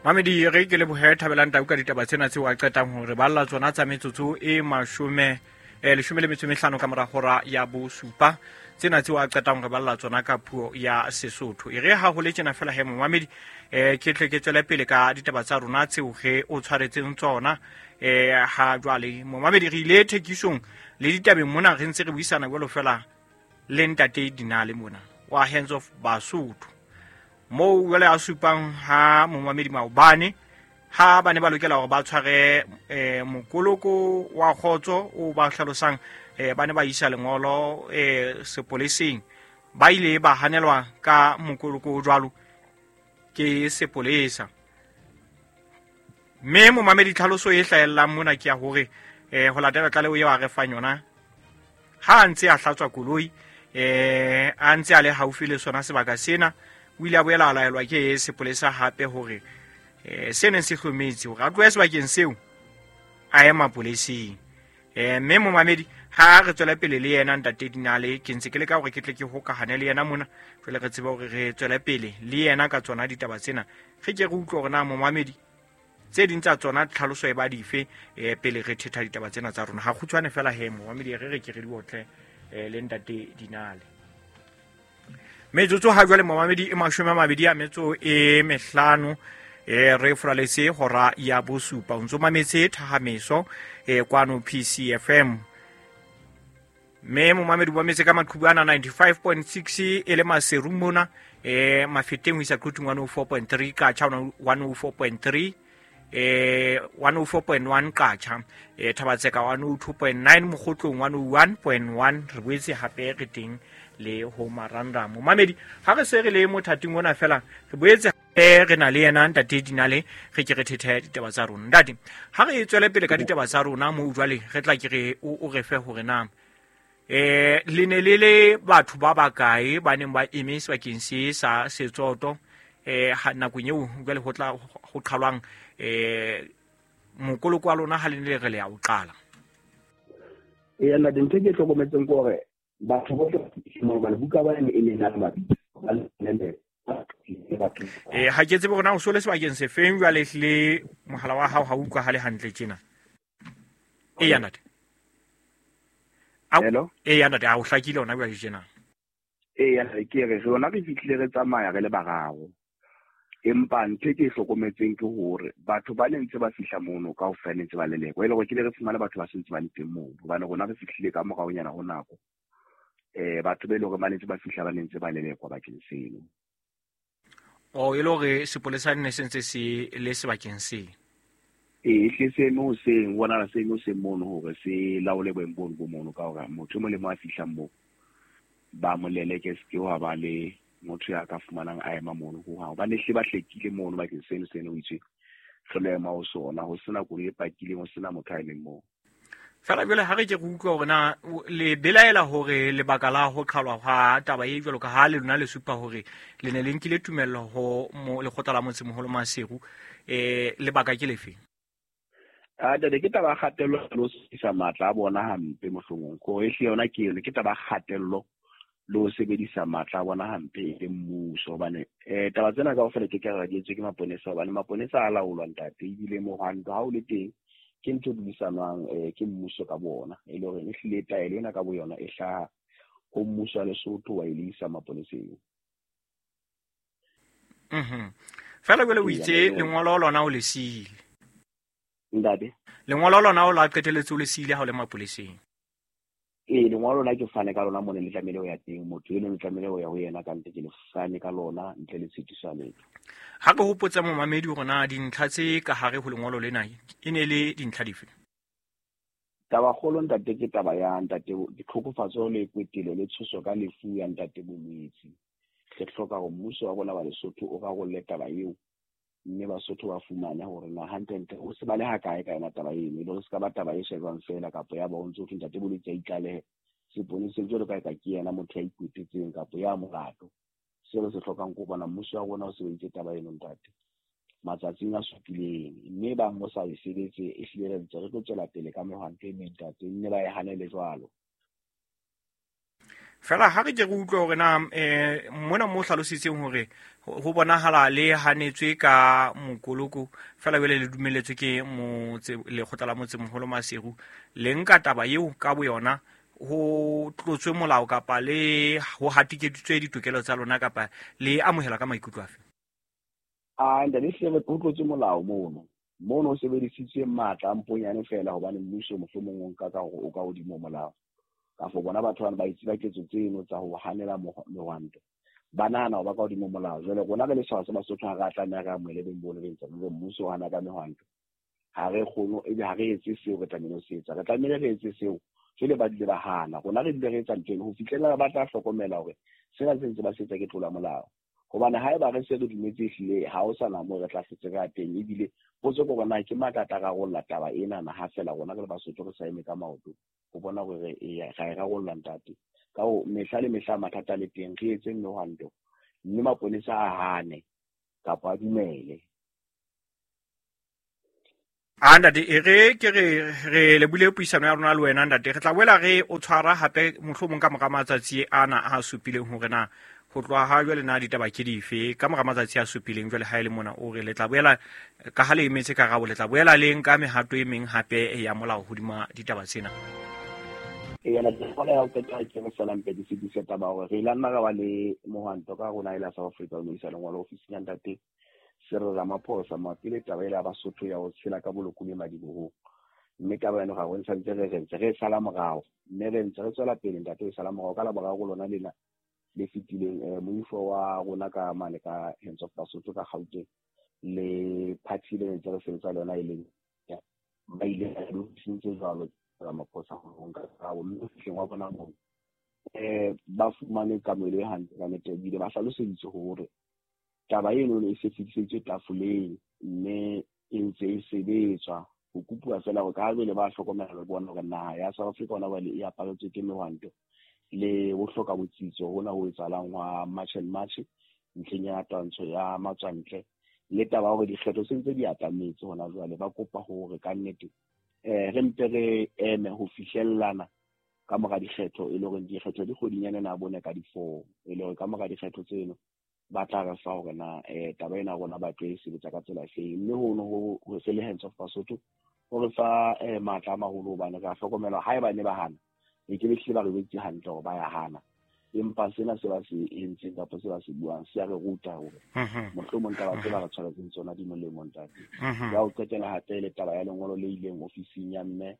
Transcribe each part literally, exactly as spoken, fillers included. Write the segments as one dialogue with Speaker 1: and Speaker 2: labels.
Speaker 1: Mamedi re ke lebohe Thabelang Tau ka ditaba tsena tseo a qetang hore balla tsona tsa metsotso e mashome eh leshome le metso e mehlano ka mora hora ya bosupa tsena tseo a qetang hore balla tsona ka puo ya Sesotho. E re ha ho le tjena fela he momamedi eh ke tle ke tswele pele ka ditaba tsa rona tseo re o tshwaretseng tsona eh ha jwale momamedi re ile thekisong le ditabeng mona re ntse re buisana jwalo fela le ntate Dinale mona wa Hands of Basotho moo jwale a supang ha momamedi maobane ha ba ne ba lokela hore ba tshware eh mokoloko wa kgotso o ba hlalosang eh ba ne ba isa lengolo eh sepoleseng ba ile ba hanelwa ka mokoloko o jwalo ke sepolesa. Mme momamedi tlhaloso e hlahellang mona ke ya hore eh ho latela tlaleho eo a re fang yona ha a ntse a hlatswa koloi eh a ntse a le haufi le sona sebaka sena o ile a boela a laelwa ke sepolesa hape hore eh se neng se hlometse hore a tlohe sebakeng seo a ye mapoleseng. Eh mme momamedi ha re tswela pele le yena ntate Dinale ke ntse ke leka hore ke tle ke hokahane le yena mona jwale re tsebe hore re tswele pele le yena ka tsona ditaba tsena re ke re utlwe hore na momamedi tse ding tsa tsona tlhaloso e ba dife eh pele re thetha ditaba tsena tsa rona. Ha kgutshwane fela he momamedi re re ke re di otle eh le ntate Dinale. Metsotso ha jwale momamedi e mashome a mabedi a metso e mehlano e re furaletse hora ya bosupa o ntso mametse Thahameso e kwano P C F M. Mme momamedi wa metse ka maqhubu ana ninety-five point six e le Maseru mona e Mafeteng ho isa Quthing one oh four point three Qacha one oh four point three eh one oh four point one Qacha eh Thabatseka one oh two point nine Mokgotlong one oh one point one re boetse hape re teng le ho Maranda. Momamedi ha re se re le mothating ona fela re boetse re na le yena ntate Dinale re ke re thethe ditaba tsa rona. Ntate ha re tswele pele ka ditaba tsa rona mo jwale re tla ke re o re fe hore na eh le ne le le batho ba bakae ba neng ba eme sebakeng se sa Setsoto eh nakong eo jwale ho tla ho qhalwang eh mokoloko wa lona ha le ne le re le ya o qala.
Speaker 2: Eh nna dintho ke hlokometseng ke hore batho bohle mo ba buka ba e ne na le mabitso ba le
Speaker 1: eh ha ke tsebe hore na o so le sebakeng se feng jwale le mohala wa hao ha o utlwahale hantle tjena. Eh ya ntate.
Speaker 2: Hello.
Speaker 1: Eh ya ntate a o hlakile hona jwale tjena.
Speaker 2: Eh ya ke re rona re fihlile re tsamaya re le bararo. Empa ntho ke hlokometseng ke hore batho ba ne ntse ba fihla mono kaofela ne ntse ba lelekwa e le hore ke le re fumana batho ba sentse ba le teng moo hobane rona re fihlile ka moraonyana ho nako eh batho ba ile hore ba ne ntse ba fihla ba ne ntse ba lelekwa bakeng seno.
Speaker 1: O e le hore sepolesa ne se ntse se le sebakeng se.
Speaker 2: Eh hle seno seng bona seno se mono hore se laole boemo bono bo mono ka hore motho mo le mo a fihlang moo ba mo leleke se ke wa ba le motho ya ka fumanang a ema mono ho hang ba ne hle ba hlekile mono bakeng seno seno o itse hlolema ho sona ho sena koloi e pakileng ho sena motho a emeng moo.
Speaker 1: Fela jwale ha re ke re utlwa hore na le belaela hore lebaka la ho qhalwa ha taba e jwalo ka ha le lona le supa hore le ne le nkile tumello ho lekgotla la motsemoholo Maseru eh lebaka ke lefe?
Speaker 2: A ntate ke taba ya kgatello le ho sebedisa matla a bona hampe mohlomong ko e hle yona ke yone ke taba ya kgatello le ho sebedisa matla a bona hampe e le mmuso hobane eh taba tsena kaofela ke ka re di etswe ke maponesa hobane maponesa a laolwa ntate ebile mohwanto ha o le teng ke ntho e buisanwang eh ke mmuso ka bona e le hore e hlile taelo ena ka bo yona e hlaha ho mmuso wa Lesotho wa e le isa maponeseng.
Speaker 1: Mhm. Fela jwale o itse lengolo lona o le siile.
Speaker 2: Ntate
Speaker 1: lengolo lona o la qeteletse o le siile ha o le mapoleseng.
Speaker 2: Eh lengolo la ke fane ka lona mona le tlamehile ho ya teng motho eno le tlamehile ho ya ho yena ka ntle ke le fane ka lona ntle le tshitiso ya letho.
Speaker 1: Ha ke hopotsa momamedi hore na dintlha tse ka hare ho lengolo lena e ne le dintlha dife?
Speaker 2: Taba kgolo ntate ke taba ya ntate ditlhokofatso le kwetelo le tshoso ka lefu ya ntate Bolwetse. Re hloka hore mmuso wa rona wa Lesotho o rarolle taba eo mme Basotho ba fumane hore na hantlentle o se ba le hakae ka yona taba eno e le hore se ka ba taba e shejwang fela kapa ya ba o ntso thwe ntate Bolwetse a itlalehe seponeseng jwalo ka e ka ke yena motho ya ikwetetseng kapa ya molato. Seo re se hlokang ke ho bona mmuso wa rona o sebeditse taba eno ntate matsatsing a supileng mme bang o sa e sebetse e hlile re ntse re tlo tswela pele ka mehwanto e meng ntate mme ba e hanele jwalo.
Speaker 1: Fela ha re ke re utlwe hore na eh mona mo hlalositseng hore ho bonahala le hanetswe ka mokoloko fela jwale le dumelletswe ke motse lekgotla la motsemoholo Maseru le nka taba eo ka boyona ho tlotswe molao kapa le ho hatikeditswe ditokelo tsa lona kapa le amohela ka maikutlo afe?
Speaker 2: A ntate hle ho tlotswe molao mono. Mono o sebedisitswe matla a mponyane fela hobane mmuso mohlomong o nka ka hore o ka hodimo molao. Ka fo bona batho bana ba itse ba ketso tseno tsa ho hanela mehwanto. Ba nahana hore ba ka hodimo molao. Jwale rona re le setjhaba sa Basotho ha re a tlameha re amohele beng bono be ntse re mmuso o hana ka mehwanto. Ha re kgone ebe ha re etse seo re tlamehile ho se etsa. Re tlamehile re etse seo. Jwale ba dule ba hana. Rona re dule re etsa ntho eno ho fihlela ba tla hlokomela hore sena se ntse ba se etsa ke tlola molao. Hobane haeba re se re dumetse ehlile ha ho sana moo re tla hlotse re ya teng, ebile potso ke hore na ke matla a tla rarolla taba ena na ha fela rona re le Basotho re sa eme ka maoto ho bona hore re ra e rarolla ntate. Ka ho mehla le mehla mathata a le teng, re etseng mehwanto mme maponesa a hane kapa a dumele.
Speaker 1: A ntate e re ke re re lebule puisano ya rona le wena ntate, re tla boela re o tshwara hape mohlomong ka mora matsatsi ana a supileng hore na ho tloha ha jwale na ditaba ke dife ka mora matsatsi a supileng jwale ha e le mona o re le tla boela ka ha le emetse karabo le tla boela le nka mehato e meng hape ya molao hodima ditaba tsena.
Speaker 2: Eya, ntate ya ho qetela ke re feela mpe ke fetise taba hore re ile nna ra ba le mohwanto ka rona e la South Africa o no isa lengolo ofising ya ntate Cyril Ramaphosa mabapi le taba ela ya Basotho ya ho tshela ka bolokolohi madibohong. Mme taba eno ga re ntse re re ntse re e sala morao, mme re ntse re tswela pele ntate e sala morao ka laboraro lona lena le fetileng eh moifo wa rona ka mane ka Hands of Basotho ka Gauteng le party le ntse re sebetsa le yona e leng ba ile ba lokisitse jwalo Ramaphosa ho nka karabo mme fihleng wa bona moo eh ba fumane kamohelo e hantle ka nnete, ebile ba hlaloseditswe hore taba eno e se fetiseditswe tafoleng mme e ntse e sebetswa. Ho kopuwa fela hore ka ha jwale ba hlokomela le bona hore naha ya South Africa hona jwale e aparetswe ke mehwanto le ho hloka botsitso hona ho etsahalang hwa March and March ntlheng ya twantsho ya matswantle le taba ya hore dikgetho se ntse di atametse hona jwale. Ba kopa hore ka nnete eh re mpe re eme ho fihlellana ka mora dikgetho, e le hore dikgetho di kgwedinyana ena ya bone ka di-four, e le hore ka mora dikgetho tseno ba tla re fa hore na eh taba ena rona ba tlo e sebetsa ka tsela efeng. Mme hono ho ho se le Hands of Basotho ho re fa eh matla a maholo hobane re a hlokomela haeba ne ba hana e ke be hlile ba re jwetse hantle hore ba ya hana, empa sena se ba se entseng kapa se ba se buang se a re ruta hore mohlomong taba tse ba re tshwaretseng tsona di molemo ntate. Ya ho qetela hape le taba ya lengolo le ileng ofising ya mme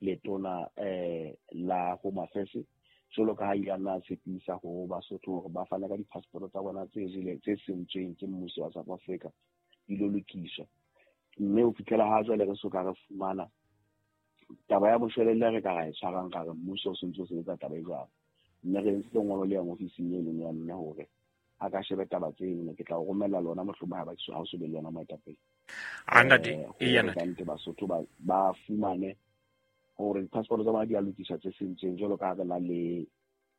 Speaker 2: letona eh la Home Affairs jwalo ka ha ile a nna a tshepisa ho Basotho hore ba fane ka di-passport tsa bona tse jeleng tse sentsweng ke mmuso wa South Africa di lo lokiswa. Mme ho fihlela ha jwale re soka re fumana taba ya boshwelelle re ka ra e tshwarang ka re mmuso o sentse o sebetsa taba e jwalo. Mme re entse lengolo le yang ofising e leng ya mme hore a ka shebe taba tseno, ke tla o romella lona mohlomong ha ba ha o so be le yona moetapele.
Speaker 1: A ntate
Speaker 2: e ya ntate Basotho ba ba fumane hore di-passport tsa bona di a lokiswa tse sentsweng jwalo ka ha re na le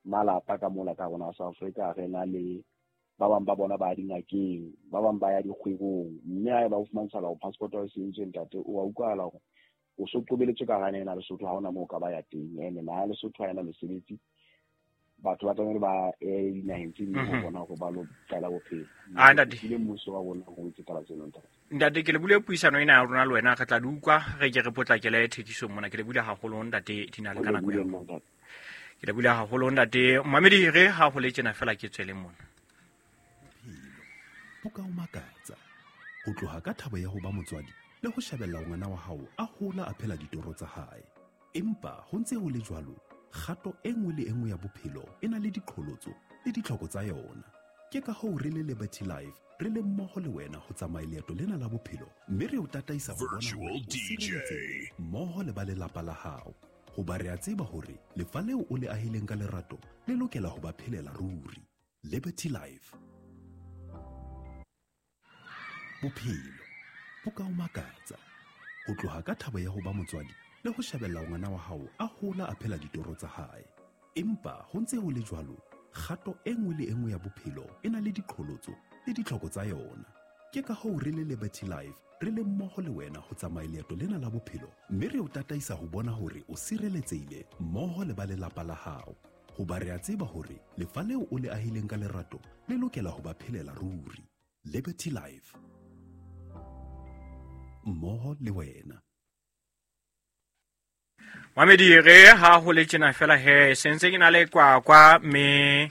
Speaker 2: malapa ka mola ka rona South Africa, re na le ba bang ba bona ba dingakeng, ba bang ba ya dikgwebong, mme ha eba o fumantshala hore passport ya hao e sentswe ntate o a utlwahala hore o so qobeletswe ka hara ena Lesotho, ha hona moo o ka ba ya teng. Ene naha ya Lesotho ha ena mesebetsi, batho ba tlamehile ba ye dinaheng tse ding ho bona hore ba lo qala bophelo.
Speaker 1: A ntate
Speaker 2: le mmuso wa rona ho etse taba tseno ntate.
Speaker 1: Ntate ke le bule puisano ena ya rona le wena, re tla di utlwa re ke re potlakele thekisong mona. Ke le bule haholo ntate Dinale ka nako ya. Ke le bule haholo ntate Mamedi, re ha ho le tjena fela ke tswele mona.
Speaker 3: Bo ka o makatsa ho tloha ka thabo ya ho ba motswadi le ho shebella ngwana wa hao a hola a phela ditoro tsa hae. Empa ho ntse ho le jwalo, kgato e nngwe le e nngwe ya bophelo e na le diqholotso le ditlhoko tsa yona. Ke ka hoo re le Liberty Life re le mmoho le wena ho tsamaya leeto lena la bophelo, mme re o tataisa ho bona hore o sireletsehile mmoho le ba lelapa la hao. Hoba re a tseba hore lefa leo o le ahileng ka lerato le lokela ho ba phelela ruri. Liberty Life. Bophelo bo ka o makatsa ho tloha ka thabo ya ho ba motswadi le ho shebella ngwana wa hao a hola a phela ditoro tsa hae. Empa ho ntse ho le jwalo, kgato e nngwe le e nngwe ya bophelo e na le diqholotso le ditlhoko tsa yona. Ke ka hoo re le Liberty Life re le mmoho le wena ho tsamaya leeto lena la bophelo, mme re o tataisa ho bona hore o sireletsehile mmoho le ba lelapa la hao. Hoba re a tseba hore lefa leo o le ahileng ka lerato le lokela ho ba phelela ruri. Liberty Life. Mmoho le wena.
Speaker 1: Mamedi re ha ho le tjena fela he sentse ke na le kwa kwa me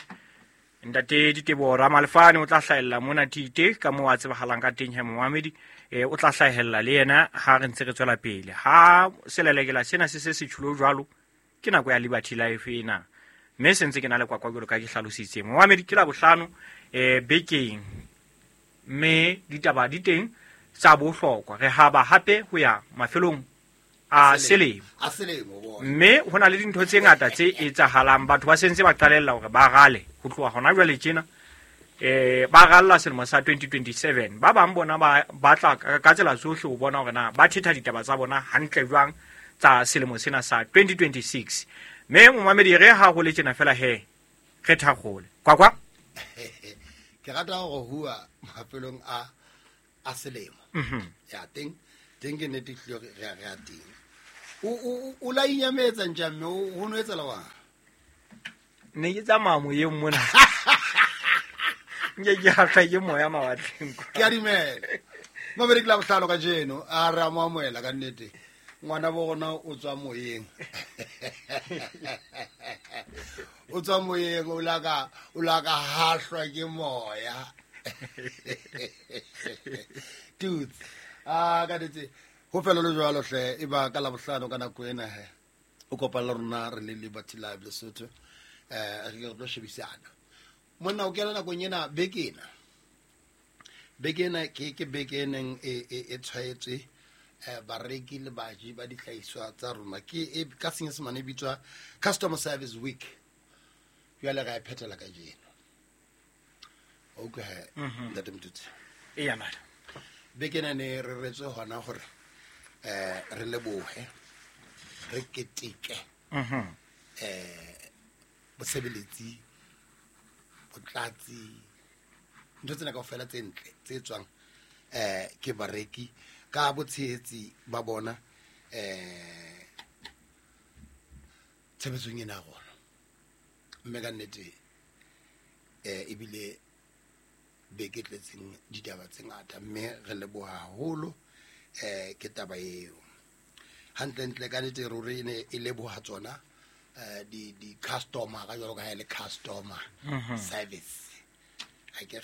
Speaker 1: ntate Diteboho Ramalefane o tla hlahella mona Tite ka moo a tsebahalang ka teng he Mohamedi e o tla hlahella le yena ha re ntse re tswela pele ha selelekela sena se se se tjhulo jwalo ke nako ya Liberty Life ena mme sentse ke na le kwa kwa jwalo ka ke hlalositse Mohamedi ke la bohlano e bekeng mme ditaba di teng tsa bohlokwa re haba hape ho ya mafelong a selemo
Speaker 4: a selemo bona
Speaker 1: mme hona le dintho tse ngata tse etsahalang batho ba sentse ba qalella hore ba rale ho tloha hona jwale tjena eh ba ralla selemo sa twenty twenty-seven ba bang bona ba batla ka tsela tsohle ho bona hore na ba thetha ditaba tsa bona hantle jwang tsa selemo sena sa twenty twenty-six mme momamedi re ha ho le tjena fela he re thakgole kwa kwa
Speaker 4: ke rata hore hua mafelong a a selemo
Speaker 1: mhm
Speaker 4: ya teng teng ke nete tlio re re a teng o o o la inyametsa nja mme o no etsela wa
Speaker 1: ne ke tsamaya moyeng mona nke ke hahla ke moya mawatleng
Speaker 4: ke a dumela mabedi ke la bohlano ka jeno a re a mo amohela ka nnete ngwana bo rona o tswa moyeng o tswa moyeng o la ka o la ka hahlwa ke moya dudes ah ka nnete ho fela le jwalo hle e ba ka la bohlano ka nako ena he o kopana le rona re le Liberty Live Lesotho eh re ke tlo shebisana monna o kena nakong ena beke ena beke ena ke ke beke e neng e e tshwaetswe eh bareki le baji ba dihlahiswa tsa rona ke e ka senyesemane e bitswa Customer Service Week jwale re a phethela ka jeno okay ntate Mtutsi
Speaker 1: e ya mara
Speaker 4: beke ena ne re retswe hona hore eh re lebohe re keteke
Speaker 1: mhm
Speaker 4: eh bosebeletsi botlatsi ntho tsena kaofela tse ntle tse tswang eh ke bareki ka botshehetsi ba bona eh tshebetsong ena ya rona mme ka nnete eh ebile beke tletseng ditaba tse ngata mme re leboha haholo eh ke taba eo hantlentle ka nnete ruri ne e leboha tsona eh di di customer ka jwalo ka ha e le customer service a ke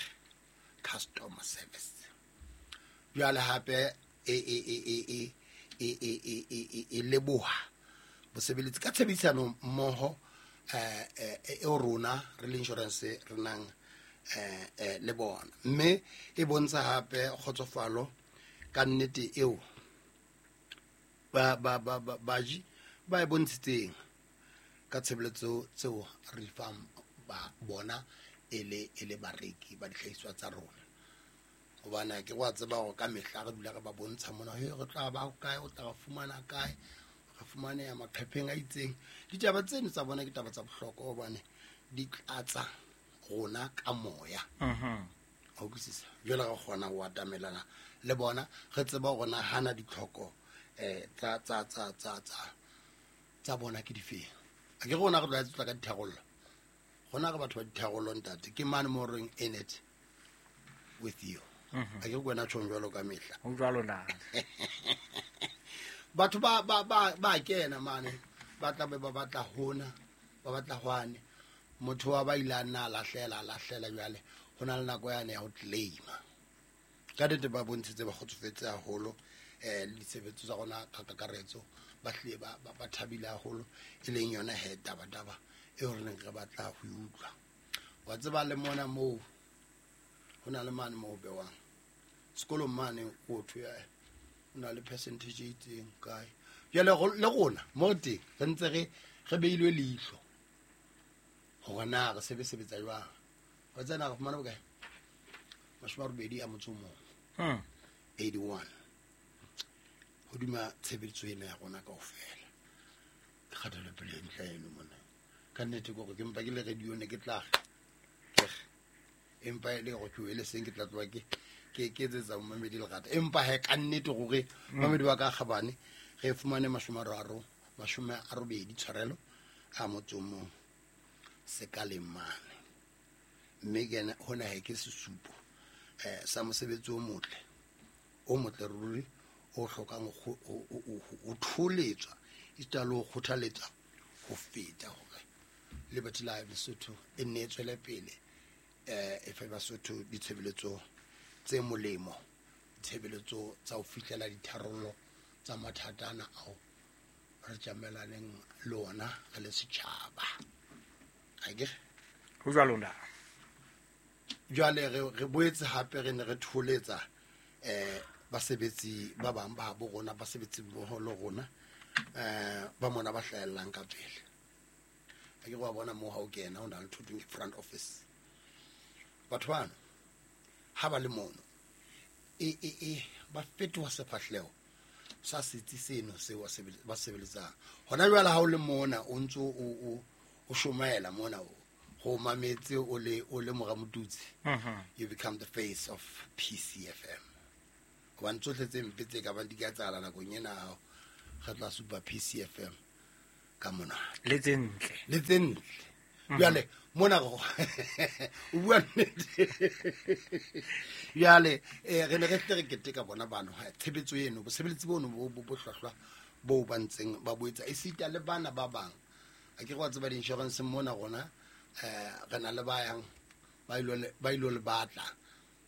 Speaker 4: customer service jwale hape e e e e e e e e e e leboha bosebeletsi ka tshebedisano mmoho eh e rona re le insurance re nang eh eh le bona mme e bontsha hape kgotsofalo ka nnete eo ba ba ba baji ba e bontshitseng ka tshebeletso tseo re fang ba bona e le e le bareki ba dihlahiswa tsa rona hobane ke wa tseba hore ka mehla re dula re ba bontsha mona he re tla ba kae o tla fumana kae re fumane ya maqepheng a itseng ditaba tseno tsa bona ke taba tsa bohlokwa hobane di tlatsa rona ka moya
Speaker 1: mhm
Speaker 4: o utlwisisa jwale re kgona ho atamelana le bona re tseba hore na hana ditlhoko eh tsa tsa tsa tsa tsa tsa bona ke difeng a ke rona re tla tla ka ditharollo rona re batho ba ditharollo ntate ke mane mo reng in it with you a ke kwena tjhong jwalo ka mehla
Speaker 1: ho jwalo na
Speaker 4: batho ba ba ba ba kena mane ba tla be ba batla hona ba batla hwane motho wa ba ile a nna a lahlela a lahlela jwale ho na le nako yane ya ho claima ka nnete ba bontshitse ba kgotsofetse haholo eh le ditshebetso tsa rona ka kakaretso ba hlile ba ba thabile haholo e leng yona he taba taba eo re neng re batla ho e utlwa wa tseba le mona moo ho na le mane moo bewang sekolong mane o thwe o na le percentage e itseng kae jwale le rona mo teng re ntse re re beilwe leihlo hore na re sebe sebetsa jwang wa tsena re fumana bokae mashome a robedi a motso o mong
Speaker 1: hmm
Speaker 4: eighty-one hodima tshebetso ena ya rona kaofela ke kgatelopele e ntle eno mona ka nnete ke hore ke mpa ke le radio ne ke tla ke empa e le hore ke wele seng ke tla tloha ke ke ke etsetsa momamedi lerata empa he ka nnete hore mamedi wa ka kgabane re fumane mashome a mararo mashome a robedi tshwarelo a motso o mong sekaleng mane. Mme ke hona he ke sesupo eh sa mosebetsi o motle o motle ruri o hlokang ho tholetswa esita le ho kgothaletswa ho feta hore Liberty Life Lesotho e nne e tswele pele eh e fe Basotho ditshebeletso tse molemo, ditshebeletso tsa ho fihlela ditharollo tsa mathata ana ao re tjamelaneng le ona re le setjhaba. Akere
Speaker 1: ho jwalo nda.
Speaker 4: Jwale re re boetse hape re ne re tholetsa eh basebetsi ba bang ba bo rona, basebetsi mmoho le rona eh ba mona ba hlahellang ka pele. Ha ke wa bona moo ha o kena ho na le thotong ke front office. Batho bano ha ba le mono e e e ba fetoha sefahleho sa setsi seno seo ba sebeletsang. Hona jwale ha o le mona o ntso o o shomaela mona o go mametse o le o le mora Motutsi, you become the face of P C F M. Hobane tsohle tse mpe tse ka bang di ka etsahala nakong ena re tla supa P C F M ka mona.
Speaker 1: Le tse ntle.
Speaker 4: Le tse ntle. Jwale mona go o bua nnete. Jwale eh re ne re tle re keteka bona bano tshebetso eno, bosebeletsi bono bo bo hlwahlwa bo ba ntseng ba boetsa esita le bana ba bang. A ke go tseba di-insurance mona rona eh re na le ba yang ba ilo ba ilo le batla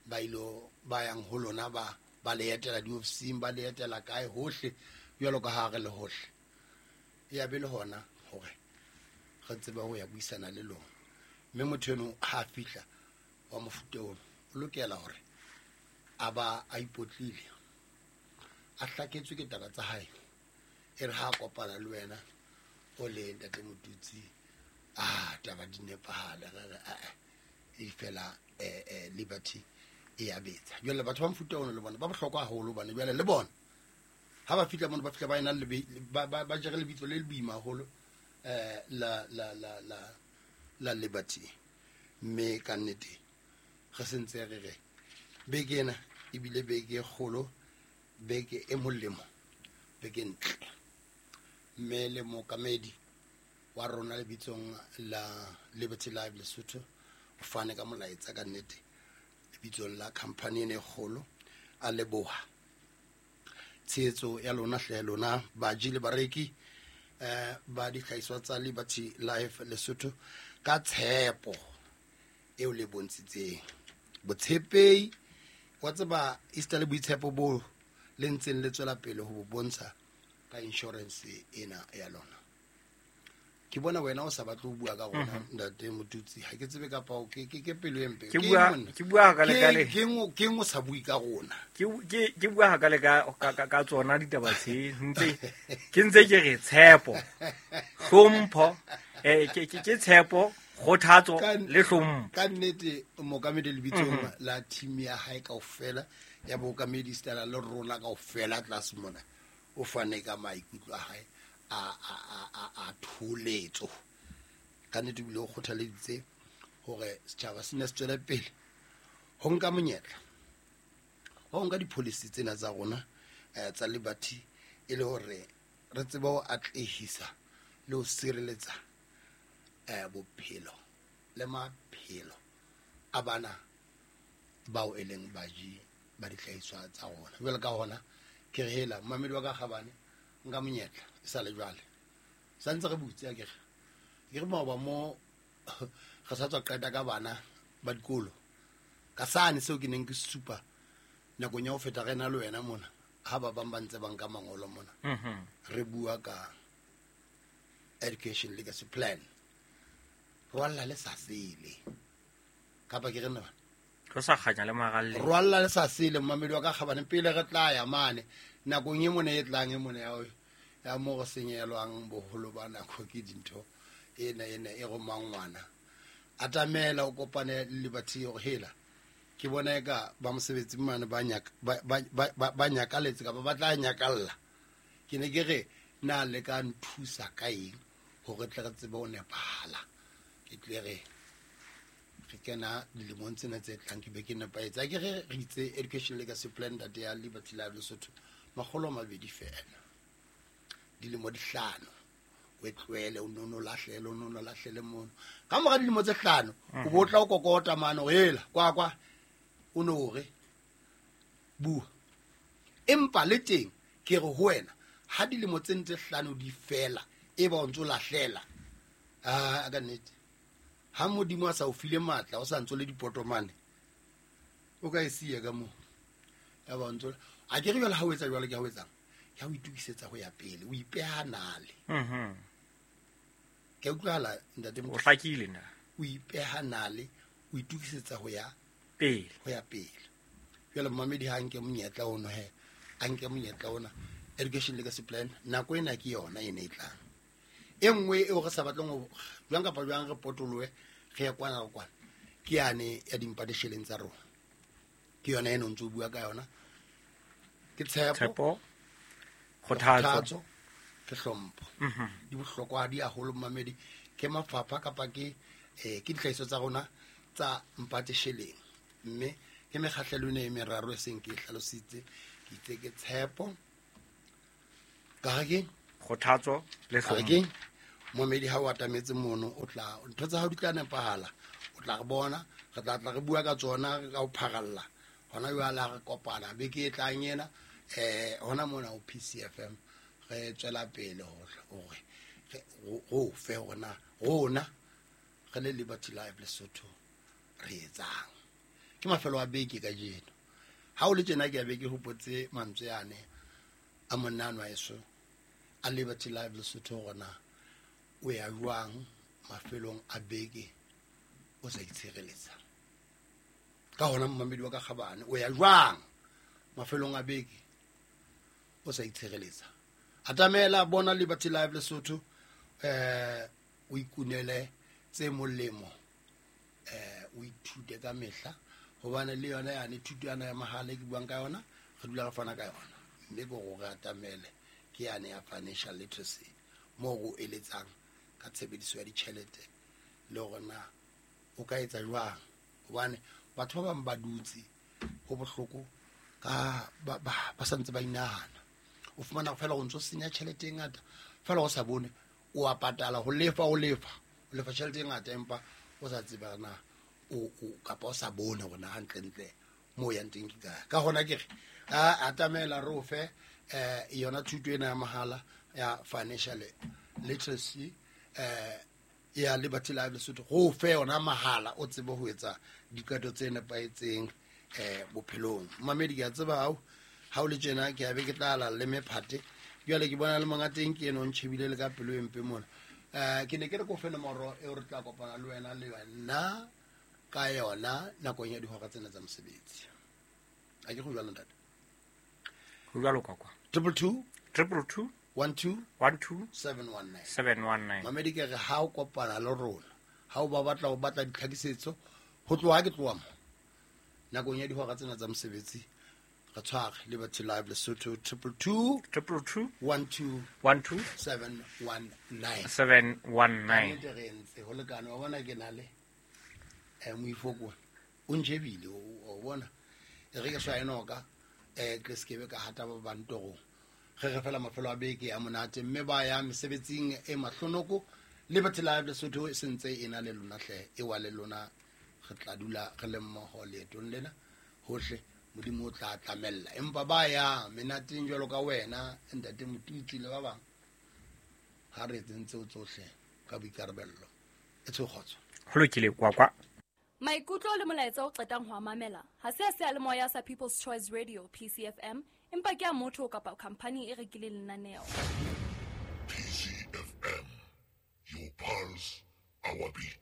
Speaker 4: ba ilo ba yang ho lona ba ba le etela di-ofising ba le etela kae hohle jwalo ka ha re le hohle. Ya be le hona hore re tsebe ho ya buisana le lona. Mme motho eno ha a fihla wa mofuta ono o lokela hore a ba a ipotlile, a hlaketswe ke taba tsa hae. E re ha a kopana le wena o le ntate Motutsi, ah taba di nepahala re re e fela eh Liberty e ya betsa. Jwale batho ba mofuta ono le bona ba bohlokwa haholo hobane jwale le bona ha ba fihla mono ba fihla ba ena le ba ba jere lebitso le le boima haholo eh la la la la la Liberty. Mme ka nnete re sentse re re beke ena ebile beke e kgolo, beke e molemo, beke ntle. Mme le mookamedi wa rona lebitsong la Liberty Life Lesotho o fane ka molaetsa ka nnete lebitsong la company ena e kgolo, a leboha tshehetso ya lona hle lona baji le bareki eh ba dihlahiswa tsa Liberty Life Lesotho ka tshepo eo le bontshitseng. Botshepehi wa tseba esita le boitshepo bo le ntseng le tswela pele ho bo bontsha ka insurance ena ya lona. Ke bona wena o sa batle ho bua ka rona ntate Motutsi, ha ke tsebe kapa o ke ke pelo e mpe.
Speaker 1: Ke bua ke bua ka le ka le
Speaker 4: ke ngo ke ngo sa bue ka rona.
Speaker 1: Ke ke ke bua ka le ka ka tsona ditaba tse ntse ke ntse ke re tshepo, hlompho, eh ke ke tshepo, kgothatso le hlompho.
Speaker 4: Ka nnete mookamedi lebitsong la team ya hae kaofela ya bookamedi stela le rona kaofela tlase mona o fane ka maikutlo a hae a a a a tholetso. Ka nnete bile o kgothaleditse hore setjhaba se ne se tswele pele ho nka monyetla ho nka di-policy tsena tsa rona tsa Liberty e le hore re tsebe ho atlehisa le ho sireletsa eh bophelo le maphelo a bana bao e leng baji ba dihlahiswa tsa rona. Jwale ka hona ke re hela mmamedi wa ka kgabane nka monyetla e sa le jwale sa ntse re butse a ke re ke re maoba mo re sa tswa qeta ka bana ba dikolo ka sane seo ke neng ke supa nakong ya ho feta re na le wena mona ha ba bang ba ntse ba nka mangolo mona re bua ka education legacy plan rwalla le sa sele kapa ke re nna
Speaker 1: re sa kganya le magalle
Speaker 4: rwalla le sa sele mmamedi wa ka kgabane pele re tla ya mane nakong e mone e tlang e mone ya ya mo go senyelwang boholo ba nako ke dintho ena ena e go mangwana atamela o kopane le Liberty hore hela ke bona eka ba mosebetsi mane ba nyaka ba ba nyakaletse kapa ba tla nyakalla ke ne ke re na le ka nthusa ka eng hore tle re tsebe ho nepahala ke tle re re kena dilemong tsena tse tlang ke be ke nepahetse. Ke re re itse education legacy plan that ya Liberty Life Lesotho makgolo a mabedi fela dilemo di hlano O e tlohele o nono lahlele o nono lahlele mono ka mora dilemo tse hlano o bo tla o kokota mane o hela kwa kwa o no re bua empa le teng ke re ho wena ha dilemo tse ntse hlano di fela e ba o ntso lahlela a ka nnete ha modimo a sa o file matla o sa ntso le dipotomane o ka e siya ka mo ya ba ntso a ke re jwale ha o etsa jwale ke ha o etsang ke ha o itukisetsa ho ya pele o ipeha nale
Speaker 1: mhm
Speaker 4: ke utlwala ntate
Speaker 1: o hlakile na
Speaker 4: o ipeha nale o itukisetsa ho ya
Speaker 1: pele
Speaker 4: ho ya pele jwale mmamedi ha nke monyetla ono he a nke monyetla ona education legacy plan nako ena ke yona ene e tlang e nngwe eo re sa batleng ho jwang kapa jwang re potoloe re ya kwana le kwana ke yane ya dimpadesheleng tsa rona ke yona eno ntse o bua ka yona ke tshepo
Speaker 1: kgothatso
Speaker 4: ke hlompho di bohlokwa di haholo mmamedi ke mafapha kapa ke eh ke ditlhahiso tsa rona tsa mpatesheleng mme ke mekgahlelo ena e meraro e seng ke e hlalositse ke itse ke tshepo ka re
Speaker 1: kgothatso le
Speaker 4: hlompho momedi ha o atametse mono o tla ntho tsa hao di tla nepahala o tla re bona re tla tla re bua ka tsona ka ho pharalla hona jwale ha re kopana beke e tlang ena eh hona mona ho P C F M re tswela pele hore re fe hona rona re le Liberty Live Lesotho re etsang ke mafelo a beke kajeno ha o le tjena ke a beke hopotse mantswe yane a monna wa eso a Liberty Live Lesotho rona o ya jwang mafelong a beke o sa itshireletsa ka hona mmamedi wa ka kgabane o ya jwang mafelong a beke o sa itshireletsa atamela bona Liberty Live Lesotho eh o ikunele tse molemo eh o ithute ka mehla hobane le yona yane thuto yana ya mahala ke buang ka yona re dula re fana ka yona mme ke hore atamele ke yane ya financial literacy mo go eletsang ka tshebediso ya ditjhelete le hore na o ka etsa jwang hobane batho ba bang ba dutse ho bohloko ka ba ba santse ba inahana o fumana fela o ntso senya tjhelete e ngata fela o sa bone o a patala ho lefa o lefa o lefa tjhelete e ngata empa o sa tsebe na o o kapa o sa bone hore na hantlentle mo yang teng ke kae ka hona ke re a atamela re o fe eh yona thuto ena ya mahala ya financial literacy eh ya Liberty Live Lesotho go fe yona mahala o tsebe ho etsa diqeto tse nepahetseng eh bophelong mamedi ke a tseba hao ha o le tjena ke a be ke tla la le mephate jwale ke bona le monga teng ke eno ntshebile le ka pelo e mpe mona eh ke ne ke re ko fe nomoro eo re tla kopana le wena le wena ka yona nakong ya dihora tsena tsa mosebetsi a ke go jwalo ntate
Speaker 1: ho jwalo kwa kwa
Speaker 4: triple two
Speaker 1: triple two
Speaker 4: one two
Speaker 1: one two
Speaker 4: seven one nine
Speaker 1: seven one nine
Speaker 4: mamedi ke re ha o kopana le rona ha o ba batla ho batla ditlhakisetso ho tloha ke tloha mo nakong ya dihora tsena tsa mosebetsi re tshware Liberty Live Lesotho triple two
Speaker 1: triple two
Speaker 4: one two
Speaker 1: one two
Speaker 4: seven one nine
Speaker 1: seven one nine
Speaker 4: ke re ntse ho lekane wa bona ke na le eh moifoko o ntjebile o bona e re ke swa enoka eh ke skebe ka hata ba bantorong re re fela mafelo a beke ya monate mme ba ya mesebetsing e mahlonoko Liberty Live Lesotho e sentse e na le lona hle e wa le lona re tla dula re le mmoho leetong lena hohle modimo o tla tlamella empa ba ya menateng jwalo ka wena ntate Motutsi le ba bang ha re etseng tseo tsohle ka boikarabello e tsho kgotso
Speaker 1: ho lokile kwa kwa
Speaker 5: maikutlo le molaetsa o qetang ho mamela ha se a seyalemoya sa People's Choice Radio P C F M empa ke a motho kapa company e rekileng lenaneo
Speaker 6: P C F M, your pulse, our beat.